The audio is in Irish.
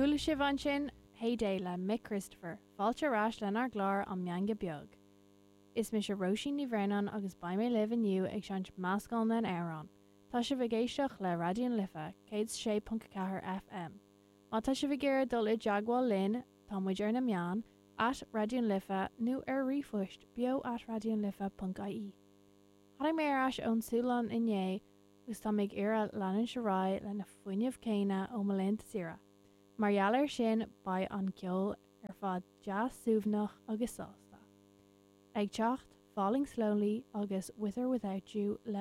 Chuala sibh ansin Hey Day le Mick Christopher, fáilte ar ais lenár gclár An Meangadh Beag. Is mise Róisín Ní Bhraonáin agus beidh mé libh inniu ag seinnt meascán den amhrán. Tá sibh ag éisteacht le Raidió na Life, 106.4 FM. Má tá sibh ag iarraidh dul i dteagmháil linn, tá muid ar na meáin, at Raidió na Life nó ar ríomhphost beo at raidionalife.ie. Tháinig mé ar ais ón Sualainn inné agus tá mé ag iarraidh leanúint ar aghaidh leis na fuinneamh céanna ó mo laethanta saoire. Mar gheall air sin beidh an ceol ar fad deas suaimhneach agus sásta. Ag teacht, Falling Slowly agus With or Without You le.